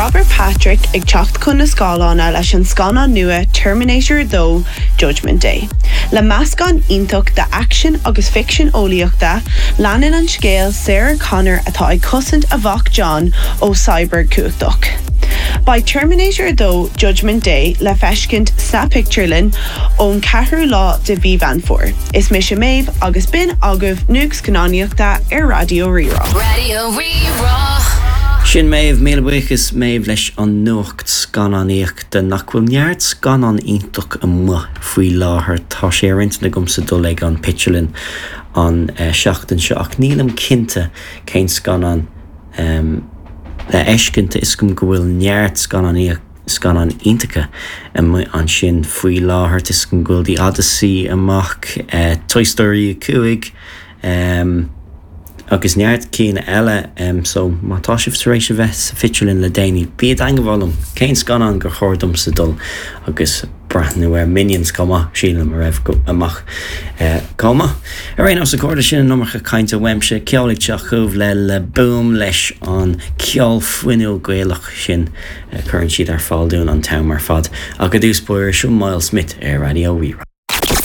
Robert Patrick ag teacht chun na scáileána leis an scannán nua Terminator 2, Judgment Day. Le meascán iontach d'aicsean agus ficsean eolaíochta, leanann an scéal Sarah Connor atá ag cosaint a mhac John ó cyborg cumhachtach. Beidh Terminator 2, Judgment Day le feiscint sna pictiúrlanna ón 4ú lá de mhí Mheán Fómhair. Is mise Méabh agus b'in agaibh Nuacht Scannánaíochta ar Raidió Rí-Rá. Raidió Rí-Rá. Sin Méabh, míle buíochas Méabh leis an nuacht scannánaíochta. Nach bhfuil neart scannán iontach amuigh faoi láthair? Tá sé ar intinn agamsa dul ag an pictiúrlann an seachtain seo ach nílim cinnte cén scannán le fheiscint. Tá 'fhios agam go bhfuil neart scannánaíocht scannáin iontacha amuigh ansin faoi láthair. Tá 'fhios agam go bhfuil The Odyssey amach, Toy Story 5, agus neart cinn eile. So má tá sibh tar éis a bheith sa phictiúrlann le déanaí, bí i dteangmháil liom! Cén scannán gur chóir domsa dul agus breathnú air? Minions chomh maith, sílim, a raibh amach chomh maith. Ar aon nós, a chairde, sin an iomarca cainte uaimse. Ceol ag teacht chugaibh le Le Boom leis an ceol fuinniúil Gaelach sin. a chuireann siad ar fáil dúinn an t-am ar fad. Ach i dtús báire, seo Myles Smith ar Raidió Rí-Rá.